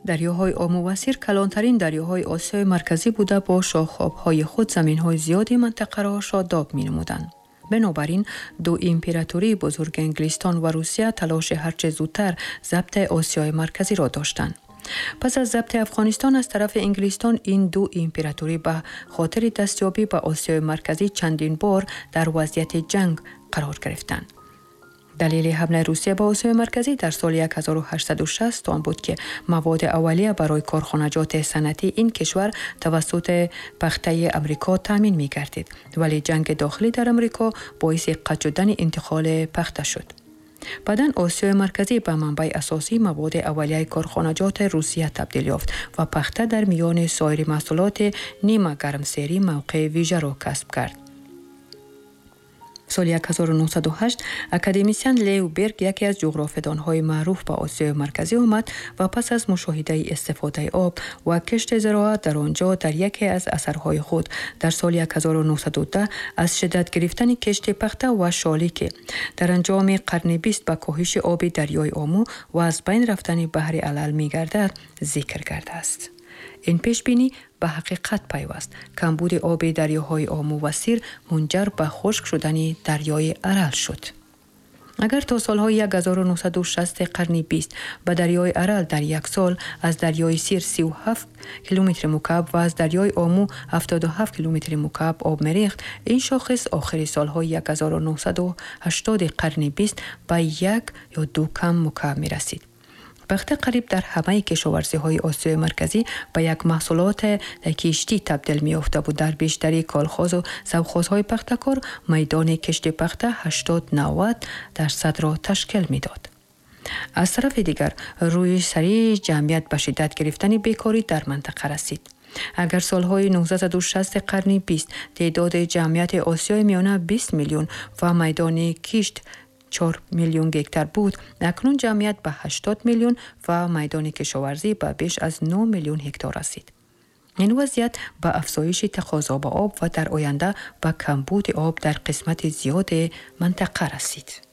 Дарёҳои Ому ва Сир калонтарин дарёҳои Осиёи Марказӣ буда, бо шохобҳои худ заминҳои зиёди минтақаро шодоб менамуданд. Бинобар ин ду импературии бузурги Англистон ва Русия талоши ҳарче зудтар забти Осиёи Марказиро доштанд. Пас аз забти Афғонистон аз тарафи Англистон, ин ду импературӣ ба хотири дастёбӣ ба Осиёи Марказӣ чандин бор дар вазъияти ҷанг қарор гирифтанд. Далели ҳамлаи Русия ба Осиёи Марказӣ дар соли 1860 он буд, ки маводи аввалия барои корхонаҷоти санъатии ин кишвар тавассути пахтаи Амрико таъмин мегардид, вале ҷанги дохилӣ дар Амрико боиси қатъ шудани интиқоли пахта шуд. Баъдан Осиёи Марказӣ ба манбаи асосии маводи аввалияи корхонаҷоти Русия табдил ёфт ва пахта дар миёни соири маҳсулоти нимагармсерӣ мавқеи вижаро касб кард. Соли 1908 академисиан Лео Берг, яке аз ҷуғрофидонҳои маъруф, ба Осиёи Марказӣ омад ва пас аз мушоҳидаи истифодаи об ва кишти зироат дар он ҷо дар яке аз асарҳои худ дар соли 1910 аз шиддат гирифтани кишти пахта ва шолӣ, ки дар анҷоми қарни 20 ба коҳиши оби дарёи Ому ва аз байн рафтани баҳри Арал мегардад, зикр кардааст. Ин пешбинӣ ба ҳақиқат пайваст. Камбуди оби дарёҳои Ому ва Сир мунҷар ба хушк шудани дарёи Арал шуд. Агар то солҳои 1960 қарни 20 ба дарёи Арал дар як сол аз дарёи Сир 37 километри мукааб ва аз дарёи Ому 77 километри мукааб об мерехт, ин шохис охири солҳои 1980 қарни 20 ба як ё ду кам мукааб мерасид. Пахта қариб дар ҳамаи кишоварзиҳои Осиёи Марказӣ ба як маҳсулоти киштӣ табдил меёфта буд. Дар бештари колхозу совхозҳои пахтакор майдони кишти пахта 80-90 дарсадро ташкил медод. Аз тарафи дигар, рӯи сариъи ҷамъият ба шиддат гирифтани бекорӣ дар минтақа расид. Агар солҳои 1960 қарни 20 теъдоди ҷамъияти Осиёи Миёна 20 миллион ва майдони кишт 4 миллион гектар буд, акнун ҷамъият ба 80 миллион ва майдони кишоварзӣ ба беш аз 9 миллион гектар расид. Ин вазъият ба афзоиши тақозо ба об ва дар оянда ба камбуди об дар қисмати зиёди минтақа расид.